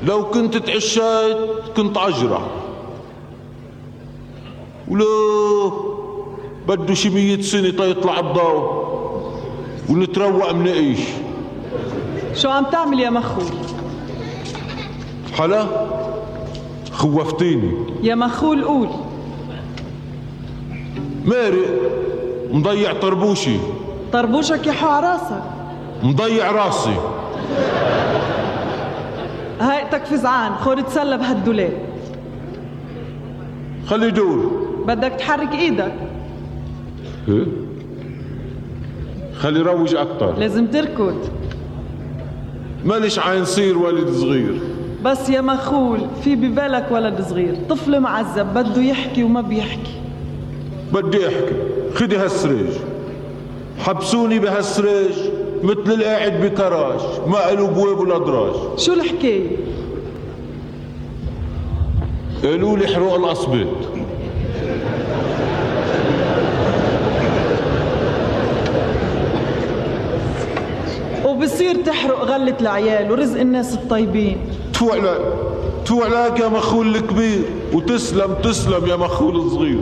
لو كنت تعشيت كنت عجرة، ولو بده شي 100 سنة تيطلع الضوء ونتروق منقيش. شو عم تعمل يا مخول؟ حلا خوفتيني يا مخول قول. مارق مضيع طربوشي. طربوشك يحو عراسك. مضيع راسي. هيئتك فزعان، خور تسلى بهالدولاب. خلي دور. بدك تحرك ايدك. ايه؟ خلي روج اكتر. لازم تركض. ماليش عين صير ولد صغير. بس يا مخول في ببالك ولد صغير، طفل معذب بده يحكي وما بيحكي. بدي احكي، خدي هالسريج. حبسوني بهالسريج مثل القاعد بكراج، ما قالوا بواب ولا دراج. شو الحكاية؟ قالوا لي حروق القصبات. وبصير تحرق غلة العيال ورزق الناس الطيبين. تفوق لك يا مخول الكبير، وتسلم تسلم يا مخول الصغير.